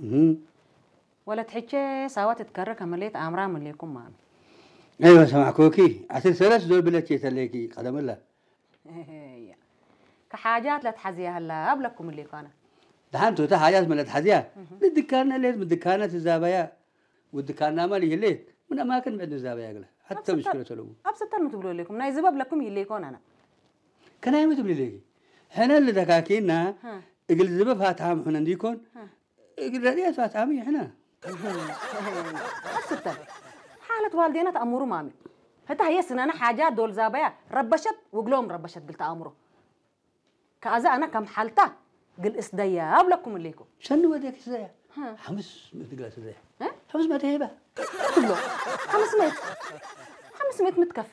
እህ። ወለት ሕቼ ሳዋ ትትከረ ከመሌት ኣምራ ምሌኩም ማሚ ኣይወ ሰማዕኩኪ። ኣስር ሰለስ ዞር ብለች የተለይኪ ቀደምላ። እያ ከሓጃት ለትሓዝያ ህላ ኣብለኩም ምሌኳና ደሓንቱ እታ ሓጃት መለት ሓዝያ ንድካና ሌት ምድካና ትዛበያ ውድካና ማል ይህሌት ምን ኣማክን ምዕድ ንዛበያ ግለ ሓተ ምሽክለ ተለዉ ኣብ ሰተን ምትብሎ ሌኩም ናይ ዝበብ ለኩም ይሌኮን ኣና ከናይ ምትብል ሌኪ ሕነ ልደካኪና እግል ዝበብ ሃትሃም ሕነ እንዲኮን እግል ረድያት ሃትሃም ይሕነ ኣብ ሰተን ሓለት ዋልዴና ተኣምሩ ማሚ ህታ ህየ ስነና ሓጃ ዶል ዛበያ ረበሸት ውግሎም ረበሸት ግል ተኣምሮ ከኣዛ ኣነ ከም ሓልታ ግልእስ ደያ ኣብለኩም እሌኩም ሸኒ ወደክ ስዘያ ሓምስ ምእት ግላ ስዘያ ሓምስ መተ ሄባ ትብሎ ሓምስ ምእት ሓምስ ምእት ምትከፌ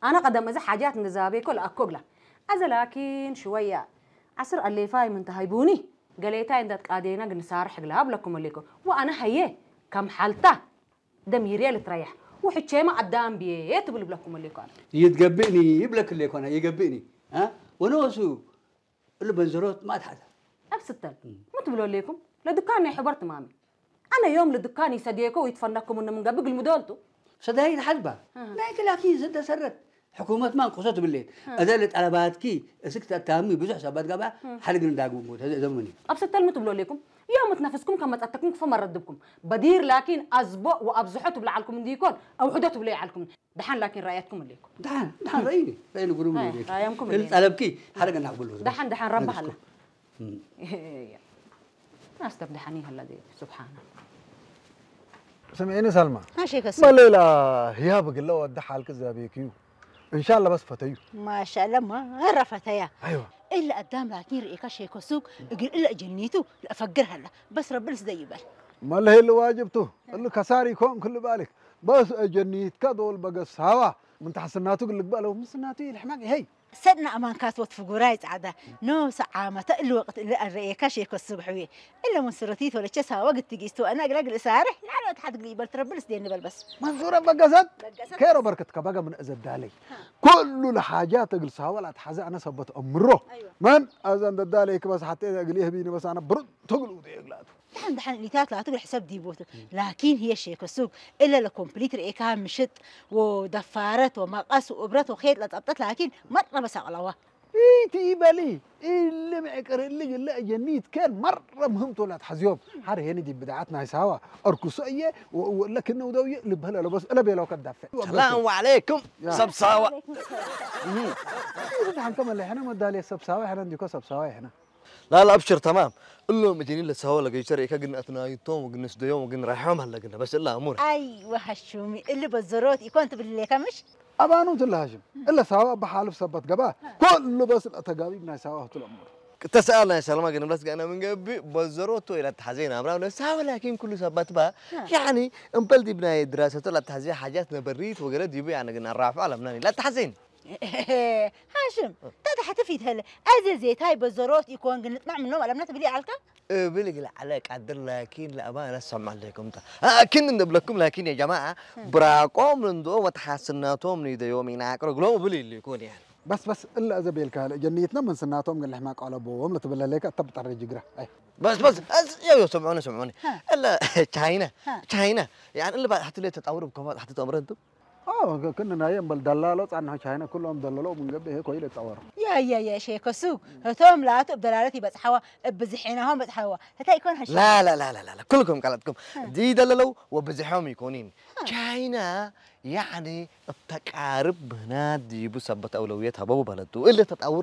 ኣነ ቀደም እዚ ሓጃት ንዛቤኮ ለኣኮ ግላ ኣዘ ላኪን ሽወያ ዓስር ኣሌፋይ ምንተ ሃይቡኒ ገሌታይ እንዳት ቃዴና ግንሳርሕ ግላ ኣብለኩም እሌኩም ወኣነ ሃየ ከም ሓልታ ደሚርየ ልትረያሕ ውሕቼማ ኣዳም ብየ ትብል ብለኩም እሌኮ ኣነ ይትገብእኒ ይብለክ ሌኮና ይገብእኒ ወነወሱ እሉ በንዘሮት ማትሓዛ ኣብ ስተን ምትብሎ ሌኩም ለድካን ናይ ሕበር ትማሚ ኣነ ዮም ልድካን ይሰድየኮ ይትፈነኩም እንምንገብ ግልምዶልቱ ሰዳይ ሓዝባ ናይ ክላኪ ዝተሰረት ሕኩመት ማን ኮሶ ትብሌት እዘ ለጠለባትኪ እስክ ተታሚ ብዙሕ ሰባት ጋባ ሓድግን ዳግሙ ዘምኒ ኣብ ስተን ምትብሎ ሌኩም ዮም ትነፍስኩም ከመጻተኩም ክፈ መረድብኩም በዲር ላኪን ኣዝቦ ወኣብዝሖ ትብልዓልኩም እንዲኮን ኣውሕዶ ትብሎ ይዓልኩም ደሓን ላኪን ራእያትኩም እሌኩም ደሓን ደሓን ረእይኒ ረእይኒ ጉሩም ራእያምኩም እሌኩም ጠለብኪ ሓደ ገና ክብሉ ደሓን ደሓን ረባ ሃላ ናስተብ ደሓን ይህላ ስብሓና ስምዒኒ ሰልማ ማሸከስ መሌላ ህያብ ግለ ወዲ ሓልክ ዛቤክዩ እንሻላ በስ ፈተዩ ማሻላ ማራ ፈተያ ኣይዋ إلا قدام لكن رئيكا شيكو سوق يقول إلا جنيتو لا فقر هلا بس رب الس ده يبال መለሄ ልዋጅብቱ እሉ ከሳሪ ኮን ክሉ ባልክ በስ ጀኒትካ ዶል በገሳዋ ምን ተሐስናቱ ግልግባ ለው ምስናቱ ይልሕማቅ ይሄይ ሰድና ኣማንካት ወትፍጉራይ ጻዕዳ ኖ ሰዓመተ እሉ ወቅት እሉ ኣረኤካ ሸኮ ስብሕዊ እለ ምን ስረቲት ወለቸ ሳወ ግትጊስቱ ኣና ግላ ግል ሳርሕ ላዕለ ወትሓት ግል ይበል ትረብል ስደን በል በስ መንሱረ በገሰት ከሮ በርክት ከባጋ ምን እዘዳለይ ኩሉ ለሓጃት እግል ሳወ ላትሓዘ ኣነ ሰበት እምሮ መን ኣዘን ደዳለይ ክበስ ሓቴ እግል የህቢኒ በስ ኣነ ብሩት ትግሉ የግላቱ دحين دحين اللي تاكل هتقول حساب ديبوتو لكن هي شيكو سوق الا لكومبليت ريكا مشت ودفارت ومقص وابرت وخيط لطبطت لكن مره بس اقلوا ኢቲ በሊ እሊ ምዕቅር እሊ ግለ ጀኒት ከን መረ ምህምቶ ላትሓዝዮም ሓደ ሄኒ ዲ ብድዓት ናይ ሳዋ ኣርኩሶ እየ ለክነው ደውየ ልበለ ለበስ እለ ቤለው ከዳፍዕ ሰላም ዓለይኩም ሰብ ሳዋ ደሓን ከመለ ሕነ መዳልየ ሰብ ሳዋ ሕነ እንዲኮ ሰብ ሳዋ ሕነ لا لا ابشر تمام እሎም እጀኒ ለሳዋ ለገይተር ኢካ ግን ኣትናይቶም ወግን ስደዮም ወግን ራሕዮም ኣለግን በስ እላ ኣሙር ايوه هشومي اللي بزروت يكون تبلي لك مش ኣባኑ ትለሃሽም እለ ሳዋ በሓልፍ ሰበት ገባ ኩሉ በስ ተጋቢብ ናይ ሳዋ ህትለሙር ተሰኣል ናይ ሰለማ ግን ብለስ ጋና ምን ገቢ በዘሮቶ ኢላ ተሓዘይ ናብራ ለሳዋ ላኪን ኩሉ ሰባት ባ ያኒ እምበል ዲብ ናይ ድራሰቶ ላ ተሓዘይ ሓጃት ነበሪት ወገለ ዲቡ ያነ ግን ኣራፍዑ ኣለምናን ኢላ ተሓዘይን هاشم تحت في هلا ازي زي تاي بزروت يكون قلت مع منهم على منات بلي علكا እብል ግል ዓለ ቃድር ላኪን ለኣባ ነሰማ ኣለይኩም ታ ላኪን እንደብለኩም ላኪን የጀማዓ ብራቆም ንንድኦ ወተሓስናቶም ንደዮም ይናቅሩ ግሎም እብል ይልኩን ያን በስ በስ እላ እዘ ቤልካ ጀኒትና መንስናቶም ግን ልሕማ ቀለቦዎም ለትብለለይካ እተ ብጠረ ጅግራ ኣይ بس بس يو يو سمعوني سمعوني الا تشاينا تشاينا يعني اللي بعد حتى ليه تطور بكفاءة حتى تأمر انتم ክን ናይ እምበል ደላሎ ጻንሖ ቻይና ኩሎም ደለሎ ምንገብ ይሄ ኮይለ ጸወር يا يا يا شيكو سوق هتوم لا تب دلالتي بس حوا بزحيناهم بس حوا هتا يكون هش لا لا لا لا لا كلكم قالتكم دي دللو وبزحهم يكونين تشاينا يعني التقارب هنا دي بسبت أولويات هبو بلدو اللي تطور